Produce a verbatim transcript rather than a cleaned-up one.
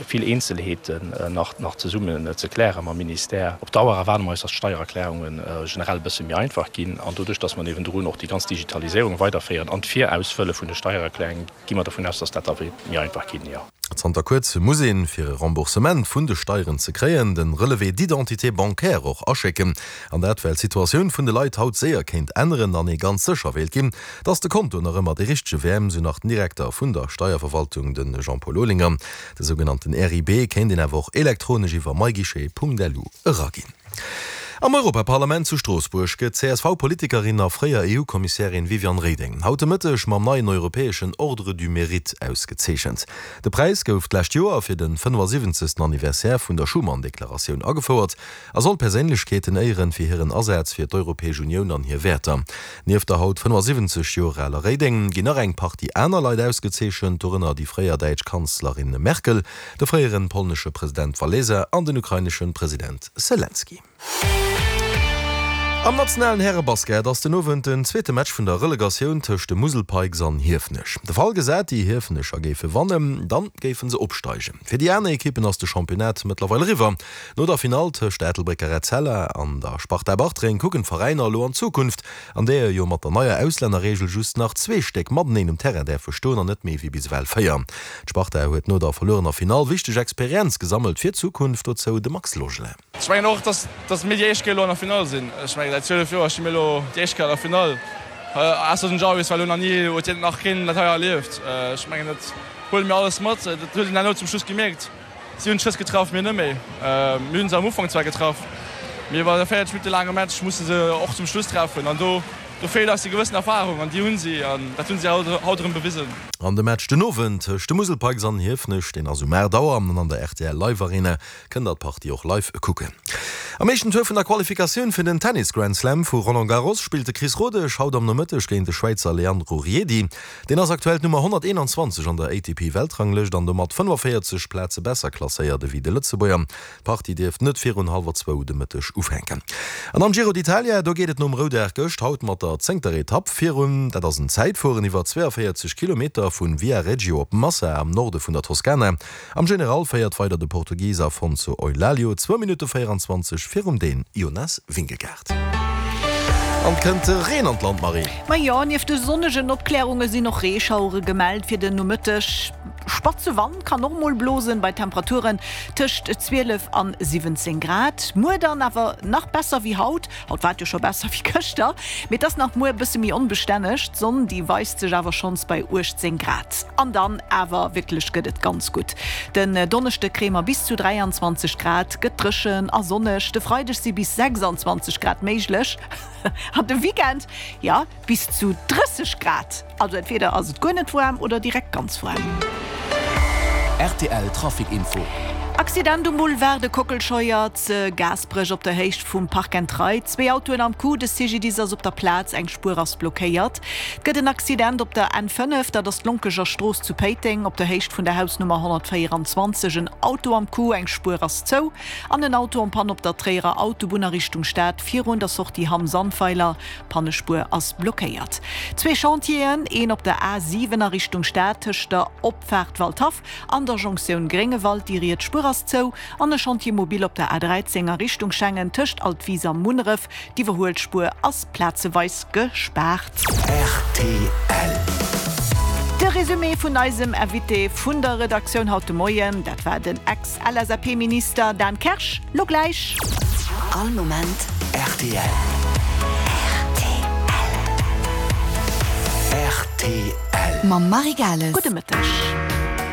Vill Eenzelheeten nach nach zesummen ze kläre mam Ministère. Op Dauer erwaarde mer eis, dass d'Steiererklärunge generell e bësse méi einfach ginn. An doduerch, dass mer niewendrun och déi ganz Digitaliséierung weiderféieren an d'Virausfëlle vun de Steiererklärungen, gi mer dovun aus, dass dat da wäert méi einfach ginn, jo. Zanter kuerzem muss een, fir e Remboursement vun de Steieren ze kréien, de Relevé d'identité bancaire och aschécken. An dat well d'Situatioun vun de Leit haut séier kéint änneren an ee ganz sécher wéilt ginn, dass de Konto nach ëmmer dee richtege wär, sou nach den Direkter vun der Steierverwaltung, de Jean-Paul Olinger. De sougenannten R I B kéint een awer och elektronesch iwwer myguichet Punkt L U eraginn. Am Europaparlament zu Stroossbuerg gëtt d'C S V-Politikerin a fréier E U-Kommissärin Viviane Reding haut de Mëtteg mam neien europäeschen Ordre du Mérite ausgezeechent. De Präis gouf d'lescht Joer fir de fënnefasiwwenzegsten Anniversaire vun der Schuman-Deklaratioun agefouert a soll Perséinlechkeeten éieren fir hiren Asaz fir d'Europäesch Unioun an hir Wäerter. Nieft der haut fënnefasiwwenzeg Joer aler Reding ginn nach eng Partie aner Leit ausgezeechent, dorënner déi fréier däitsch Kanzlerin Merkel, de fréiere polnesche President Walesa an den ukrainesche President Selenskyj. Am nationalen Härebasket ass den Owend den zweete Match vun der Relegatioun tëscht de Musel Pikes an Hiefenech. De Fall gesat, déi Hiefenecher géife wannen, dann géife se opsteigen. Fir déi aner Ekippen ass de Championnat mëttlerweil eriwwer. No der Finall tëscht der Ettelbrécker Etzella an der Sparta Bartreng kucken d'Veräiner elo an d'Zukunft, an där jo mat der neier Auslännerreegel just nach zwee Stéck mateneen um Terrain däerfe stoen an net méi wéi bis ewell véier. D'Sparta huet no der verluerener Finall wichteg Experienz gesammelt fir d'Zukunft, dozou de Max Logelin. Ech mengen och, dass dass mir déi éischt Kéier elo an der Finall sinn. Ech mengen säit zwielef Joer sti mir elo déi éischt Kéier an der Finall. Ausser den Jarvis, well elo nach ni huet hien nach keen dat hei erlieft. Ech mengen dat huele mir alles mat. Dat huet een herno zum Schluss gemierkt. Si hunn d'Schëss getraff, mir net méi. Mir hunn se am Ufank zwar getraff, mee iwwer e véierzeg Minutte laange Match musse se och zum Schluss treffen an do do feelt eis déi gewëssen Erfarung an déi hunn si an dat hunn si haut erëm bewisen. An de Match den Owend tëscht de Musel Pikes an Hiefenech, deen ass um aacht Auer an an der R T L Live Arena kënnt der d'Partie och live kucken. Am éischten Tour vun der Qualifikatioun fir den Tennis Grand Slam vu Roland Garros spillt de Chris Rodesch haut am Nomëtteg géint de Schwäizer Leandro Riedi. Deen ass aktuell d'Nummer honnerteenanzwanzeg an der A T P-Weltranglëscht an domat fënnefaféierzeg Plaze besser klasséiert ewéi de Lëtzebuerger. D'Partie dierft net virun hallwer zwou de Mëtteg ufänken. An am Giro d'Italia, do geet et nom Roudag gëscht haut mat der zéngter Etapp virun. Dat ass en Zäitfueren iwwer zweeënvéierzeg Kilometer vu Viareggio op Massa am Norde vun der Toskana. Am General féiert weider de Portugis Afonso Eulalio, zwou Minutte véieranzwanzeg virum Dän Jonas Vingegaard. An kënnt Reen an d'Land, Marie? Ma jo, nieft de sonnegen Opklärunge sinn och Reeschauere gemellt fir den Nomëtteg. Spatze Wand kann och mol blosen, bei Temperaturen tëscht zwielef an siwwenzéng Grad. Muer dann awer nach besser wéi haut, haut war et jo scho besser wéi gëschter, mee et ass nach muer e bësse méi onbestänneg. D'Sonn, déi weist sech awer schonns bei uechtzéng Grad. An dann awer wierklech gëtt et ganz gutt. Den Donneschde kréie mer bis zu dräianzwanzeg Grad, gëtt dréchen a sonneg. De Freideg si bis sechsanzwanzeg Grad méiglech an de Weekend, jo, bis zu drësseg Grad. Also entweder ass et guer net waarm oder direkt ganz waarm. R T L Trafic Info. Accident um Boulevard de Kockelscheuer ze Gaasperech op der Héicht vum Park and Ride. Zwee Autoen am Coup, de C G D I S ass op der Plaz, eng Spuer ass blockéiert. Et gëtt en Accident op der N fënnef, dat ass d'Lonkeger Strooss zu Péiteng, op der Héicht vun der Hausnummer honnertvéieranzwanzeg. En Auto am Coup, eng Spuer ass zou. An en Auto en panne op der Tréierer Autobunn a Richtung Stad virun der Sortie Hamm-Sandweiler, Pannespuer ass blockéiert. Zwee Chantieren, een op der A siwen a Richtung Stad tëscht der Opfaart Waldhaff an der Jonktioun Gréngewald, déi riets Spuer ass zou, an e Chantier mobile op der A dräizéng a Richtung Schengen tëscht Altwis a Munneref, d'Iwwerhuelspuer ass plazeweis gespaart. R T L. De Resumé vun eisem Invité vun der Redaktioun haut de Moien, dat war den Ex-L S A P-Minister Dan Kersch. Lo gläich. All Moment R T L. R T L. R T L. Mam Marie Gales. Gudde Mëtteg.